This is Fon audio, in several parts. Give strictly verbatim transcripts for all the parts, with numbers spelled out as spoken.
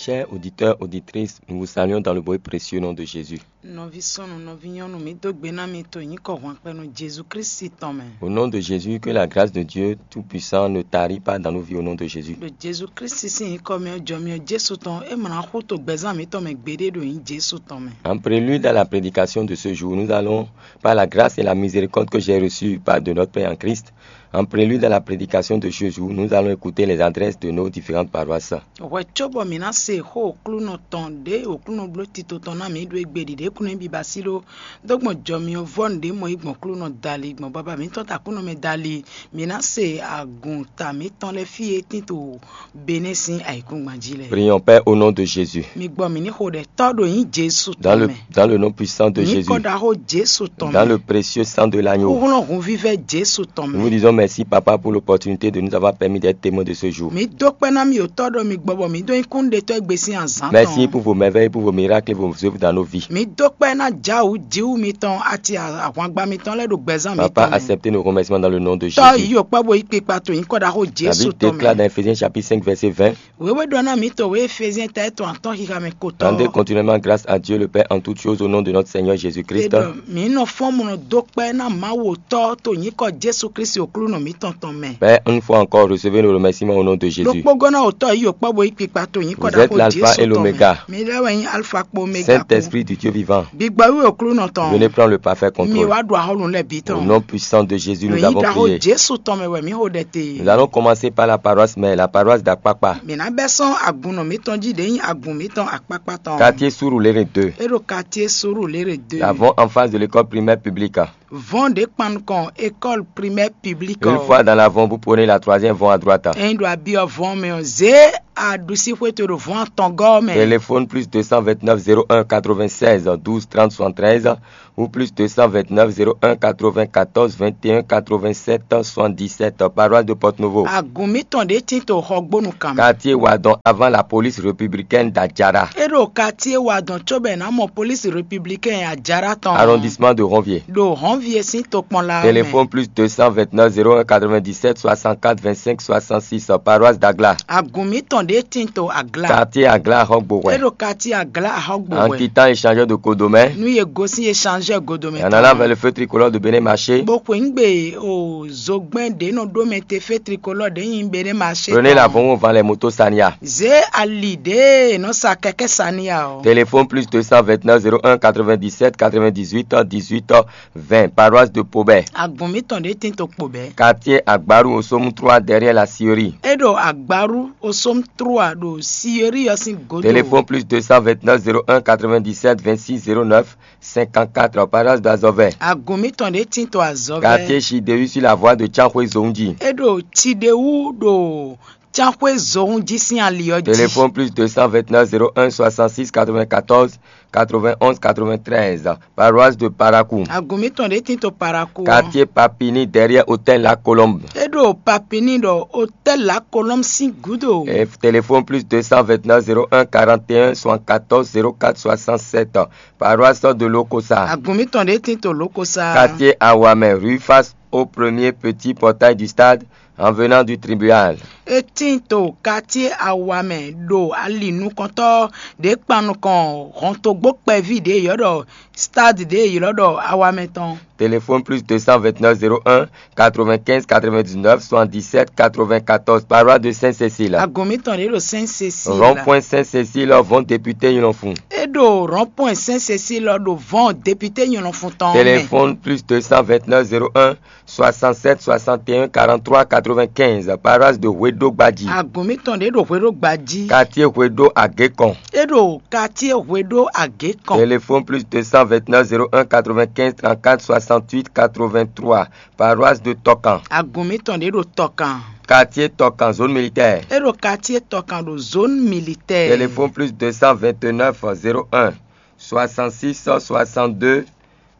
Chers auditeurs, auditrices, nous vous saluons dans le beau et précieux nom de Jésus. Nɔví súnnu, nɔví nyɔnu, mǐ dó gbe ná mi to nyǐkɔ hwanpɛnu Jezu Klísu tɔn mɛ. Au nom de Jésus, que la grâce de Dieu Tout-Puissant ne tarit pas dans nos vies au nom de Jésus. Ɖo Jezu Klísu sín nyǐkɔ mɛ ɔ́, jɔ myɔ Jesu tɔn, é mlá xú to gbɛzán mǐtɔn mɛ gbeɖé ɖo nyǐ Jesu tɔn mɛ. En prélude à la prédication de ce jour, nous allons, par la grâce et la miséricorde que j'ai reçue par de notre Père en Christ, en prélude à la prédication de ce jour, nous allons écouter les adresses de nos différentes paroisses. Hwɛ cóbɔ mǐ ná se xó Aklúnɔ tɔn ɖě Aklúnɔ bló tito tɔn ná mǐ ɖó égbé ɖiɖě kún nú biba sí ɖó dó gbɔn jɔ myɔ vɔ́nu ɖě mɔ yi gbɔn Aklúnɔ dali gbɔn baba mǐtɔn ta Aklúnɔ mɛ dali, mǐ ná se agun ta mǐtɔn lɛ́ɛ fí e tín to Benɛ́ sín ayǐkúngban jí lɛ́ɛ. Prions, Père, au nom de Jésus. Mi gbɔ mǐ ní xo ɖɛ tɔ́ ɖo nyí Jesu Dans tɔn le, mɛ. Dans le nom puissant de Jésus. Nyǐkɔ ɖaxó Jesu tɔn Dans mɛ. Le précieux sang de l'agneau. Xúxlɔ́n hunvívɛ́ Jesu tɔn Nous vous mɛ. Disons merci, Papa, pour l'opportunité de nous avoir permis d'être témoins de ce jour. Mi dó kpɛ́ ná mi o tɔ́ ɖɔ mi gbɔ bɔ mi dó nyí kúnnuɖetɔ́ égbé sín azǎn Merci tɔn. Pour vos merveilles, pour vos miracles et vos œuvres dans nos vies. Mi dó kpɛ́ ná Jǎwǔ Jǐwú mitɔn ati ahwangba mitɔn lɛ́ɛ ɖo gbɛzán Papa, mitɔn mɛ. Acceptez nos remerciements dans le nom de Tɔ́ Jésus. Yí o kpɛ́ bo yí kpikpa to nyǐkɔ ɖaxó La Jesu Bible tɔn déclare mɛ. Dans Éphésiens chapitre cinq, verset vingt. Wěwé ɖɔ ná mǐ to wě Efézíɛn ta étɔn atɔ́ xixa mɛ kotɔn. Rendez continuellement grâce à Dieu le Père en toutes choses au nom de notre Seigneur Jésus-Christ. Ɖɔ mǐ nɔ fɔ́n mɔ dó kpɛ́ ná Mawu Tɔ́ to nyǐkɔ Jesu Klísu Aklúnɔ mǐtɔn tɔn mɛ. Père, une fois encore, recevez nos remerciements au nom de Jésus. Ɖokpógɔ́ ná otɔ́ yí yǒkpɔ́ bo yí kpikpa to nyǐkɔ Vous êtes l'alpha et l'oméga. Mi lɛ́ wɛ nyí Alfa kpo Omega kpo. Saint-Esprit du Dieu vivant. Gbigbɔ wí Aklúnɔ tɔn. Venez prendre le parfait contrôle. Mi wá ɖu axɔ́ nǔ lɛ́ɛ bǐ tɔn. Au nom puissant de Jésus, nous avons prié. Ɖo nyǐ ɖaxó Jesu tɔn mɛ wɛ mǐ xo ɖɛ te. Nous allons commencer par la paroisse mère, la paroisse d'Akpakpa. Mǐ ná bɛ́ sɔ́n agun nɔ mǐtɔn jí ɖě nyí agun mǐtɔn Akpakpa tɔn. Quartier Surulere deux. É ɖo quartier Surulere deux. L'avant en face de l'école primaire publique. Vɔn ɖě kpan nukɔn école primaire publique. Une fois dans l'avant, vous prenez la troisième vɔn à droite. Ényí ɖo abyɔ vɔn mɛ ɔ́, zě aɖusíxwé to ɖo vɔn atɔngɔ́ mɛ. Téléphone plus deux cent vingt-neuf zéro un quatre-vingt-seize douze trente soixante-treize ou plus deux cent vingt-neuf zéro un quatre-vingt-quatorze vingt et un quatre-vingt-sept soixante-dix-sept, paroisse de Porto Novo. Agun mǐtɔn ɖě tín to Xɔgbónu kan mɛ. Quartier Wadon avant la police républicaine d'Adjara. É ɖo quartier Wadon cóbɔ è nǎ mɔ police républicaine Adjara tɔn. Arrondissement de Ranvier. Ɖo Ranvier sín tokpɔnla mɛ. Téléphone plus deux cent vingt-neuf zéro un quatre-vingt-dix-sept soixante-quatre vingt-cinq soixante-six, paroisse d'Agla. Agun mǐtɔn ɖě tín to Agla. Quartier Agla Ahɔgbowɛ. É ɖo quartier Agla Ahɔgbowɛ. En quittant échangeur de Codomé. Nú yě gosín échangeur Godomɛ. En allant vers le feu tricolore de Bénin Marché. Bó xweyǐgbe o zogbɛ́n ɖě nɔ ɖó mɛ te fé tricolore ɖě nyi Bénin Marché. Prenez la vɔn avant les motos Sania. Zě ali ɖě nɔ sa kɛkɛ́ Sania ɔ́. Téléphone plus deux cent vingt-neuf zéro un quatre-vingt-dix-sept quatre-vingt-dix-huit dix-huit vingt, paroisse de Pobé. Agun mǐtɔn ɖě tín to Pobé. Quartier Agbaru Osomou trois derrière la scierie. É ɖo Agbaru Osomou trois ɖo scierie ɔ́ sín godo. Téléphone plus deux cent vingt-neuf zéro un quatre-vingt-dix-sept vingt-six zéro neuf cinquante-quatre, paroisse d'Azɔvɛ. Agun mǐtɔn ɖě tín to Azɔvɛ. Quartier Chidehu sur la voie de Tsanxwé Zoundji. É ɖo Chidehu ɖo Tsanxwé Zoundji sín ali ɔ́ jí. Téléphone plus deux cent vingt-neuf zéro un soixante-six quatre-vingt-quatorze quatre-vingt-onze quatre-vingt-treize, paroisse de Parakou. Agun mǐtɔn ɖě tín to Parakou. Quartier Papini derrière hôtel La Colombe. É ɖo Papini ɖo hôtel La Colombe sín gúdo. Et téléphone plus deux cent vingt-neuf zéro un quarante et un soixante-quatorze zéro quatre soixante-sept, paroisse de Lokosa. Agun mǐtɔn ɖě tín to Lokosa. Quartier Awamɛ, rue face au premier petit portail du stade, en venant du tribunal. É tín to quartier Awamɛ ɖo ali nukɔntɔ́ ɖě kpan nukɔn hɔntogbó kpɛví ɖě yɔ́ ɖɔ stade ɖě ylɔ́ ɖɔ Awamɛ tɔn. Téléphone plus deux cent vingt-neuf zéro un quatre-vingt-quinze quatre-vingt-dix-neuf soixante-dix-sept quatre-vingt-quatorze, paroisse de Sainte-Cécile. Agun mǐtɔn ɖě ɖo Sainte-Cécile. Rond-point Sainte-Cécile, vɔn député Nylɔnfun. É ɖo rond-point Sainte-Cécile ɖo vɔn député Nylɔnfun tɔn mɛ. Téléphone plus deux cent vingt-neuf zéro un soixante-sept soixante et un quarante-trois quatre-vingt-quinze, paroisse de Hwedo Gbadji. Agun mǐtɔn ɖě ɖo Hwedo Gbadji. Quartier Hwedo Agékɔn. É ɖo quartier Hwedo Agékɔn. Téléphone plus deux cent vingt-neuf zéro un quatre-vingt-quinze trente-quatre soixante-huit quatre-vingt-trois, paroisse de Tɔkan. Agun mǐtɔn ɖě ɖo Tɔkan. Quartier Tɔkan, zone militaire. É ɖo quartier Tɔkan ɖo zone militaire. Téléphone plus deux cent vingt-neuf zéro un soixante-six soixante-deux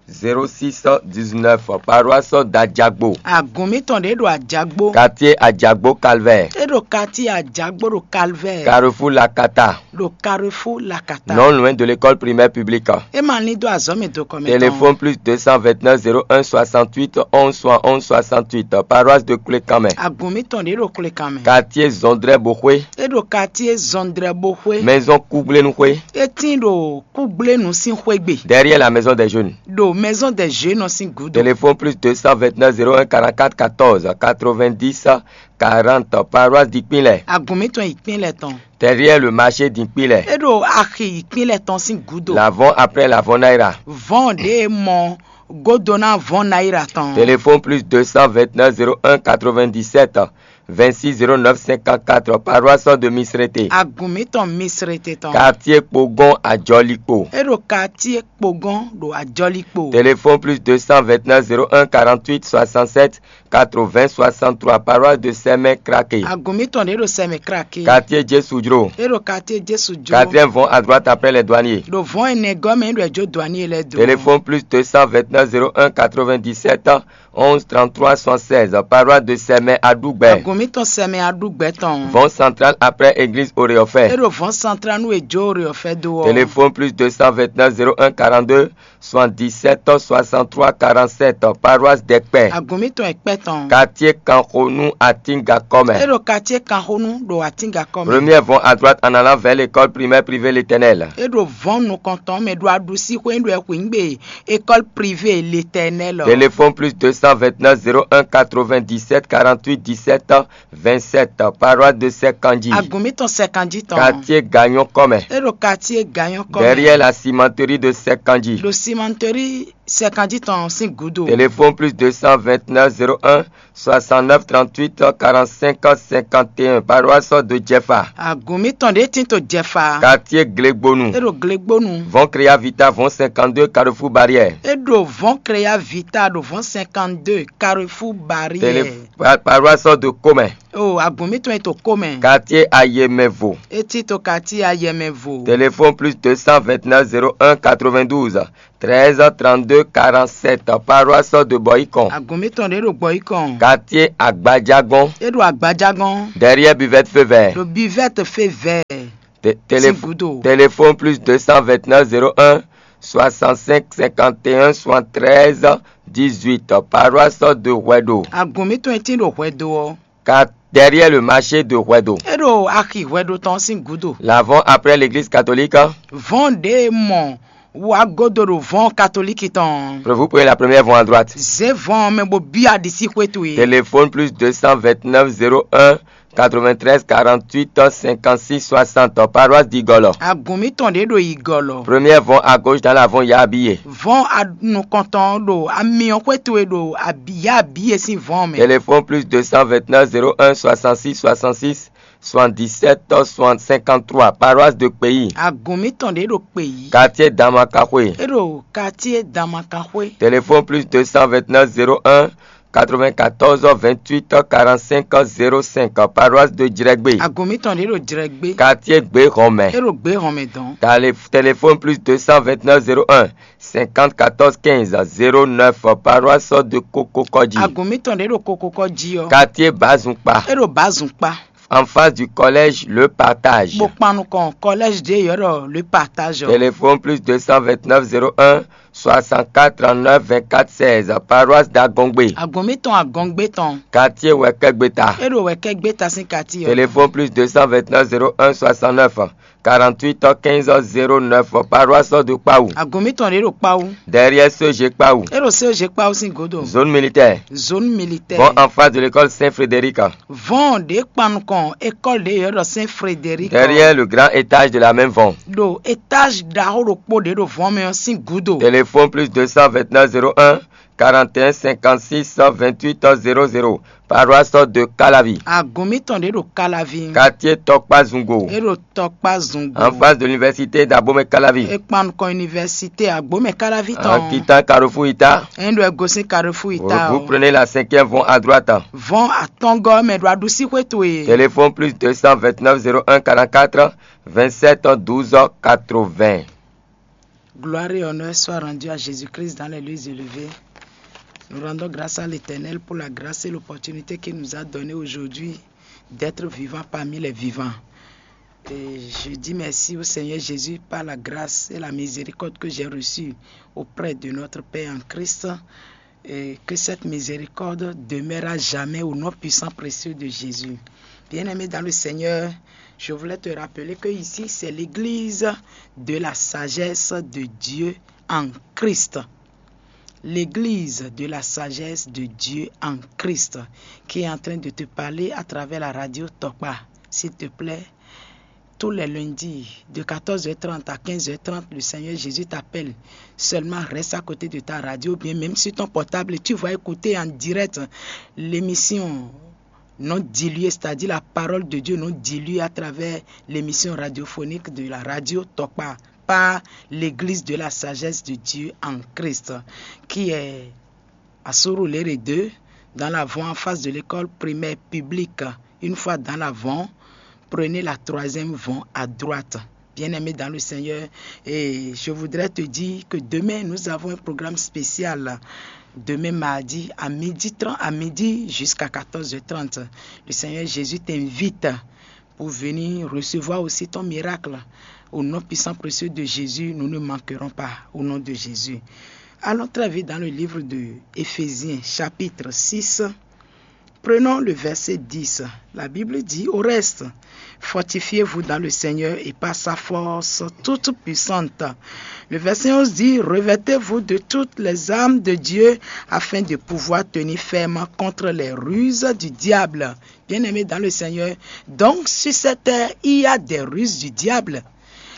Zéro six dix-neuf, paroisse d'Adjagbo. Agun mǐtɔn ɖě ɖo Ajagbo. Quartier Adjagbo Calvaire. É ɖo quartier Ajagbo ɖo Calvaire. Carrefour Lakata. Ɖo Carrefour Lakata. Non loin de l'école primaire publique. É ma lín dó azɔ̌ mɛ dokɔ mɛ tɔn. Téléphone plus deux cent vingt-neuf zéro un soixante-huit onze soixante-huit, paroisse de Klékanmɛ. Agun mǐtɔn ɖě ɖo Klékanmɛ. Quartier Zɔndrɛ Boxwé. É ɖo quartier Zɔndrɛ Boxwé. Maison Kugblenu Xwé. É tín ɖo Kúgblénu sín xwé gbe. Derrière la maison des jeunes. Ɖo maison des jeunes sín gǔdo. Téléphone plus deux cent vingt-neuf zéro un quarante-quatre quatorze quatre-vingt-dix quarante, paroisse d'Ikpinlɛ. Agun mǐtɔn Ikpinlɛ tɔn. Derrière le marché d'Ikpinlɛ. É ɖo axi Ikpinlɛ tɔn sín gǔdo. L'avant après l'avant Naira. Vɔn ɖě mɔ godo ná vɔn Naira tɔn. Téléphone plus deux cent vingt-neuf zéro un quatre-vingt-dix-sept vingt-six zéro neuf cinquante-quatre, paroisse de Misrete. Agun mǐtɔn Misrete tɔn. Quartier Kpogɔn Ajɔlikpo. É ɖo quartier Kpogɔn ɖo Ajɔlikpo. Téléphone plus deux cent vingt-neuf zéro un quarante-huit soixante-sept quatre-vingts soixante-trois, paroisse de Sɛmɛ Krake. Agun mǐtɔn ɖě ɖo Sɛmɛ Krake. Quartier Jésù Jro. É ɖo quartier Jésù Jro. Quatrième vɔn à droite après les douaniers. Ɖo vɔn énɛ́ gɔ́ mɛ é ɖo ɛjó douanier lɛ́ɛ dó. Téléphone plus deux cent vingt-neuf zéro un quatre-vingt-dix-sept onze trente-trois soixante-seize, paroisse de Sɛmɛ Aɖugbɛ. Agun mǐtɔn Sɛmɛ Aɖugbɛ tɔn. Vɔn central après église Oreɔfɛ. É ɖo vɔn central nú è jó Oreɔfɛ dó ɔ́. Téléphone plus deux cent vingt-neuf zéro un quarante-deux soixante-dix-sept soixante-trois quarante-sept, paroisse Dɛkpɛ. Agun mǐtɔn Ɛkpɛ tɔn. Quartier Kanxonu Atingakɔmɛ. É ɖo quartier Kanxonu ɖo Atingakɔmɛ. Première vɔn à droite en allant vers l'école primaire privée L'Éternel. É ɖo vɔn nukɔntɔn mɛ ɖo aɖusíxwé ɖo ɛxwǐngbe école privée L'Éternel. Téléphone plus deux cent vingt-neuf zéro un quatre-vingt-dix-sept quarante-huit dix-sept vingt-sept, paroisse de Sɛkanji. Agun mǐtɔn Sɛkanji tɔn. Quartier Gagnon Kɔmɛ. É ɖo quartier Gagnon Kɔmɛ. Derrière la cimenterie de Sɛkanji. Ɖo cimenterie Sɛkanji tɔn sín gǔdo. Téléphone plus deux cent vingt-neuf zéro un soixante-neuf trente-huit quarante-cinq cinquante et un, paroisse de Jɛfa. Agun mǐtɔn ɖě tín to Jɛfa. Quartier Glegbonu. É ɖo Glegbonu. Vɔn Créa Vita, vɔn cinquante-deux, Carrefour Barrière. É ɖo vɔn Créa Vita ɖo vɔn cinquante-deux, Carrefour Barrière. Télé-, pa-, paroisse de Komɛ. O agun mǐtɔn e to Komɛ. Quartier Ayemɛvo. É tín to quartier Ayemɛvo. Téléphone plus deux cent vingt-neuf zéro un quatre-vingt-douze treize trente-deux quarante-sept, paroisse de Bɔyikɔn. Agun mǐtɔn ɖě ɖo Bɔyikɔn. Quartier Agbajagɔn. É ɖo Agbajagɔn. Derrière buvette feu vert. Ɖo buvette feu vert. Té-, télé-, sín gúdo. Téléphone plus deux cent vingt-neuf zéro un soixante-cinq cinquante et un soixante-treize dix-huit, paroisse de Hwɛɖo. Agun mǐtɔn e tín ɖo Hwɛɖo ɔ́. Car derrière le marché de Hwɛɖo. É ɖo axi Hwɛɖo tɔn sín gúdo. L'avant après l'église catholique. Vɔn ɖě e mɔ wá godo ɖo vɔn katolíki tɔn. Vous prenez la première voie à droite. Zě vɔn mɛ bó byɔ́ aɖisí xwé towe. Téléphone plus deux cent vingt-neuf zéro un quatre-vingt-treize quarante-huit cinquante-six soixante, paroisse d'Igolo. Agun mǐtɔn ɖě ɖo Igolo. Première voie à gauche dans l'avant Yabiye. Vɔn nukɔntɔn ɖo amyɔ xwé towe ɖo abi Yabiye sín vɔn mɛ. Téléphone plus deux cent vingt-neuf zéro un soixante-six soixante-six soixante-dix-sept soixante cinquante-trois, paroisse de Kpeyi. Agun mǐtɔn ɖě ɖo Kpeyi. Quartier Damakaxwe. É ɖo quartier Damakaxwe. Téléphone plus deux cent vingt-neuf zéro un quatre-vingt-quatorze vingt-huit quarante-cinq zéro cinq, paroisse de Jrɛgbe. Agun mǐtɔn ɖě ɖo Jrɛgbe. Quartier Gbehɔnmɛ. É ɖo Gbehɔnmɛ dɔn. Télé-, téléphone plus deux cent vingt-neuf zéro un cinquante quatorze quinze zéro neuf, paroisse de Kokokɔji. Agun mǐtɔn ɖě ɖo Kokokɔji ɔ́. Quartier Bazunkpa. É ɖo Bazunkpa. En face du collège Le Partage. Bó kpan nukɔn collège ɖě yɔ́ ɖɔ Le Partage ɔ́. Téléphone plus deux cent vingt-neuf zéro un soixante-quatre trente-neuf vingt-quatre seize, paroisse d'Agongbe. Agun mǐtɔn Agɔngbe tɔn. Quartier Wɛkɛgbeta. É ɖo Wɛkɛgbeta sín quartier ɔ́. Téléphone plus deux cent vingt-neuf zéro un soixante-neuf quarante-huit quinze zéro neuf, paroisse de Kpawu. Agun mǐtɔn ɖě ɖo Kpawu. Derrière C E G Kpawu. É ɖo C E G Kpawu sín gúdo. Zone militaire. Zone militaire. Bon, en face de l'école Saint-Frédéric. Vɔn ɖě kpan nukɔn école ɖě yɔ́ ɖɔ Saint Frédéric. Derrière le grand étage de la même vɔn. Ɖo étage ɖaxó ɖokpó ɖě ɖo vɔn mɛ ɔ́ sín gúdo. Téléphone plus deux cent vingt-neuf zéro un quarante et un cinquante-six vingt-huit zéro zéro, paroisse de Calavi. Agun mǐtɔn ɖě ɖo Calavi. Quartier Tɔkpazungo. É ɖo Tɔkpazungo. En face de l'université d'Abomey Calavi. É kpan nukɔn université Agbomɛ Calavi tɔn. En quittant Carrefour Ita. É ɖo ɛ gosín Carrefour Ita. Vous prenez la cinquième voie à droite. Vɔn atɔngɔ́ mɛ ɖo aɖusí xwé towe. Téléphone plus deux cent vingt-neuf zéro un quarante-quatre vingt-sept douze quatre-vingts. Gloire et honneur soient rendus à Jésus-Christ dans les lieux élevés. Nous rendons grâce à l'Éternel pour la grâce et l'opportunité qu'il nous a donnée aujourd'hui d'être vivants parmi les vivants. Et je dis merci au Seigneur Jésus par la grâce et la miséricorde que j'ai reçue auprès de notre Père en Christ. Et que cette miséricorde demeure à jamais au nom puissant précieux de Jésus. Bien-aimé dans le Seigneur, je voulais te rappeler que ici, c'est l'église de la sagesse de Dieu en Christ. L'église de la sagesse de Dieu en Christ qui est en train de te parler à travers la radio Tokpa. S'il te plaît, tous les lundis, de quatorze heures trente à quinze heures trente, le Seigneur Jésus t'appelle. Seulement reste à côté de ta radio, ou bien même sur ton portable, tu vas écouter en direct l'émission non diluée, c'est-à-dire la parole de Dieu non diluée à travers l'émission radiophonique de la radio Tokpa par l'église de la sagesse de Dieu en Christ, qui est à Surulere deux, dans l'avant en face de l'école primaire publique. Une fois dans l'avant, prenez la troisième vent à droite. Bien-aimé dans le Seigneur, et je voudrais te dire que demain, nous avons un programme spécial. Demain mardi, à midi trente, à midi jusqu'à quatorze heures trente. Le Seigneur Jésus t'invite pour venir recevoir aussi ton miracle. Au nom puissant précieux de Jésus, nous ne manquerons pas. Au nom de Jésus. Allons très vite dans le livre de Éphésiens, chapitre six. Prenons le verset dix. La Bible dit, au reste, fortifiez-vous dans le Seigneur et par sa force toute puissante. Le verset onze dit, revêtez-vous de toutes les armes de Dieu afin de pouvoir tenir ferme contre les ruses du diable. Bien-aimé dans le Seigneur, donc sur cette terre, il y a des ruses du diable.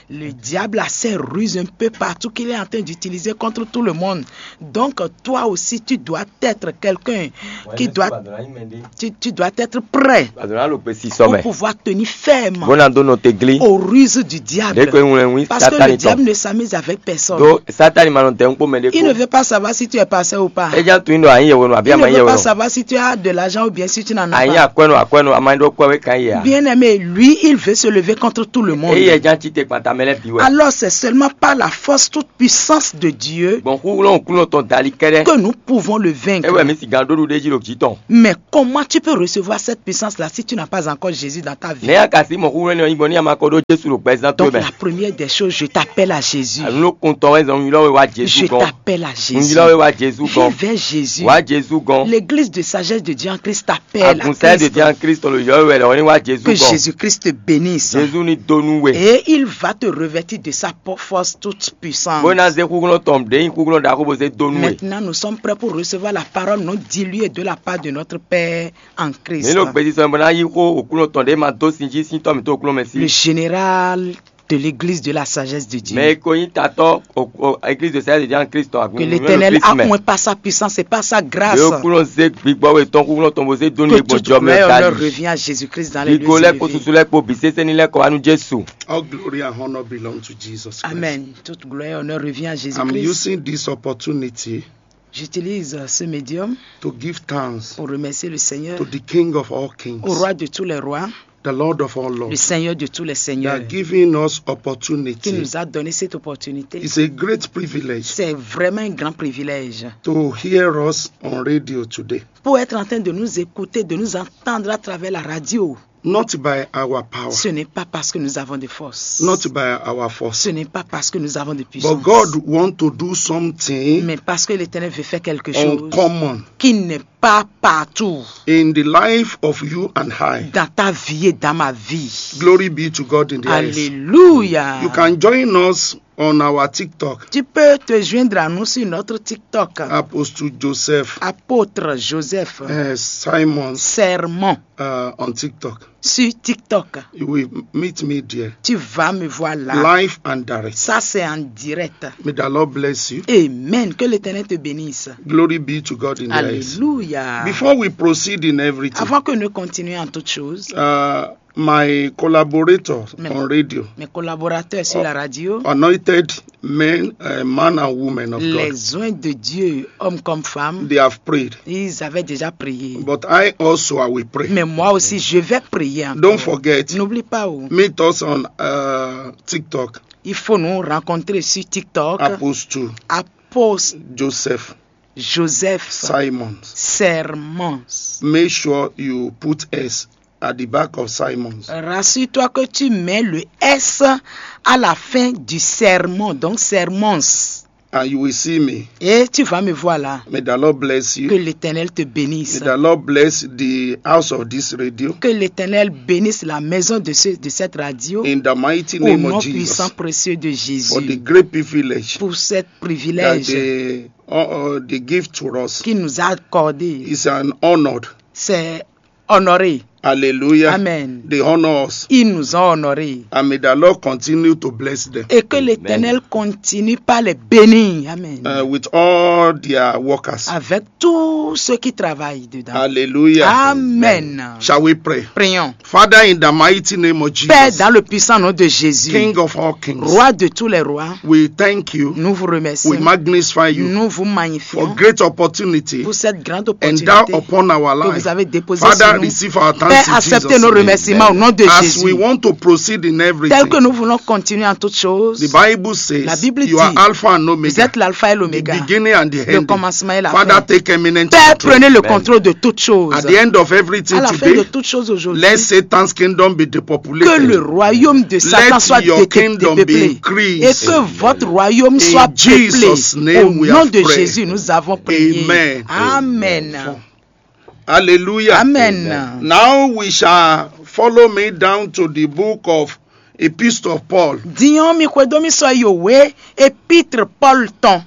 Le diable a ses ruses un peu partout qu'il est en train d'utiliser contre tout le monde. Donc, toi aussi, tu dois être quelqu'un qui doit, tu, tu dois être prêt pour pouvoir tenir ferme aux ruses du diable. Parce que le diable ne s'amuse avec personne. Il ne veut pas savoir si tu es pasteur ou pas. Il ne veut pas savoir si tu as de l'argent ou bien si tu n'en as pas. Bien-aimé, lui, il veut se lever contre tout le monde. Alors, c'est seulement par la force toute puissance de Dieu que nous pouvons le vaincre. Mais comment tu peux recevoir cette puissance-là si tu n'as pas encore Jésus dans ta vie? Donc, la première des choses, je t'appelle à Jésus. Je t'appelle à Jésus. Viens vers Jésus. L'église de sagesse de Dieu en Christ t'appelle à Christ. Que Jésus-Christ te bénisse. Et il va te revêtir de sa force toute puissante. Maintenant, nous sommes prêts pour recevoir la parole non diluée de la part de notre Père en Christ. Le général de l'église de la sagesse de Dieu. Que l'Éternel a moins par sa puissance et par sa grâce. Que toute gloire et honneur revient à Jésus-Christ dans les lieux élevés. All glory and honor belong to Jesus Christ. Amen. Toute gloire et honneur revient à Jésus-Christ. I'm using this opportunity J'utilise ce médium to give thanks pour remercier le Seigneur, to the King of all kings, au roi de tous les rois, the Lord of all lords, le Seigneur de tous les seigneurs, that giving us opportunity, qui nous a donné cette opportunité. It's a great privilege. C'est vraiment un grand privilège to hear us on radio today. Pour être en train de nous écouter, de nous entendre à travers la radio. Not by our power. Ce n'est pas parce que nous avons de force. Not by our force. Ce n'est pas parce que nous avons de puissance. But God want to do something. Mais parce que l'Éternel veut faire quelque chose, uncommon, qui n'est pas partout, in the life of you and I, dans ta vie et dans ma vie. Glory be to God in the highest. Alléluia. You can join us on our TikTok. Tu peux te joindre à nous sur notre TikTok. Apostle Joseph. Apôtre Joseph. Uh, Simon. Sermon. Uh, on TikTok. Sur TikTok. You will meet me there. Tu vas me voir là. Live and direct. Ça, c'est en direct. May the Lord bless you. Amen. Que l'Éternel te bénisse. Glory be to God in the highest. Alléluia. Before we proceed in everything, avant que nous continuions en toute chose, uh, My collaborator Mais- on radio, Mes collaborateurs sur la radio, anointed men, uh, man and women of God, les oints de Dieu, hommes comme femmes, they have prayed. Ils avaient déjà prié. But I also, I will pray. Mais moi aussi, je vais prier encore. Don't forget, N'oublie pas, oh, meet us on uh, TikTok, il faut nous rencontrer sur TikTok. Apostle Apostle Joseph Joseph Simons. Sermons. Make sure you put S at the back of Simons. Rassure-toi que tu mets le S à la fin du sermon, donc Sermons. And you will see me. Et tu vas me voir là. May the Lord bless Que you. l'Éternel te bénisse. May the Lord bless the house of this radio. Que l'Éternel bénisse la maison de, ce- de cette radio. In the mighty Au name nom of puissant, Jesus. Précieux de Jésus. For the great privilege Pour ce that privilège they, uh, uh, they give to us. Qu'il nous a accordé. It's an honor. C'est honoré. Hallelujah. Amen. They honor us. Ils nous ont honorés. And may the Lord continue to bless them Et que l'Éternel continue par les bénir. Amen. Uh, with all their workers. Avec tous ceux qui travaillent dedans. Hallelujah. Amen. Shall we pray? Prions. Father, in the mighty name of Jesus, Père, dans le puissant nom de Jésus, King of all kings, Roi de tous les rois, we thank you. Nous vous remercions. We magnify you Nous vous for magnifions great opportunity Pour cette grande and opportunité that upon our que life. Vous avez déposée Father, sur nous. Receive our Père, thanks in acceptez Jesus' nos name. Remerciements au nom de As Jésus. We want to proceed in everything. Tel que nous voulons continuer en toutes choses. The Bible says, La Bible you dit, are Alpha and Omega. Vous êtes l'alpha et l'oméga. The beginning and the Le end. Commencement et la Father, fin. Take eminent Père, control. Prenez le control de toutes choses. At the end of everything À la fin today, de toutes choses aujourd'hui, let Satan's kingdom be depopulated. Que le royaume de Satan Let soit your dé- kingdom be dépeuplé. Increased. Et que votre royaume soit In Jesus' peuplé. Name Au we nom have de prayed. Jésus, nous avons prié. Amen. Amen. Hallelujah. Amen. Now we shall follow me down to the book of Epistle of Paul. Diɔn mi xwedó mi sɔ yi òwe épître Paul tɔn.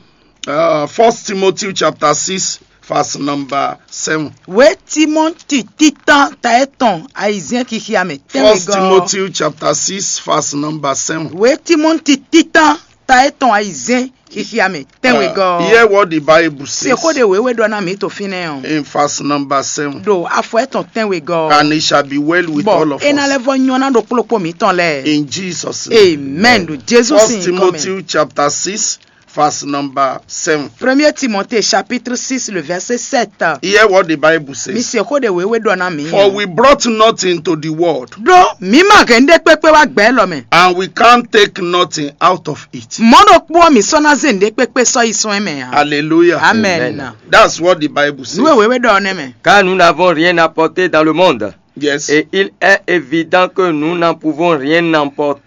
Uh, First Timothy chapter six, verse number seven. Wé Timɔti títán ta etɔn ayizɛn xixia mɛ tɛnwe First gɔ. Timothy chapter six, verse number seven. Wé Timɔti títán ta etɔn ayizɛn xixia mɛ tɛnwe Uh, gɔ. Hear what the Bible says Seko de wewe ɖɔ na mi to fínɛ o. In verse number seven. Ɖo afɔ etɔn tɛnwe gɔ. And it shall be well with all Bɔn of ena lɛ us. Vɔ nyɔ na ɖo kplɔkpɔ mitɔn lɛ. In Jesus' name. Amen. Ɖo Jesu First sin Timothy kɔmɛ. Chapter six, verse number seven. Premier Timothée chapitre six, le verset sept. Hear what the Bible Mi says. Seko de wewe ɖɔ na mi. For we brought nothing to the world, Ɖo mi ma hɛn ɖe kpekpe wá gbɛ lɔ mɛ. And we can't take nothing out of it. Mɔ ɖokpɔ mi sɔ na ze ɖe kpekpe sɔ yi sɔn mɛ. Hallelujah. Amen. That's what the Bible says. Nuwe wewe ɖɔ ne mɛ. Car nous n'avons rien apporté dans le monde. Yes. Et il est évident que nous n'en pouvons rien emporter.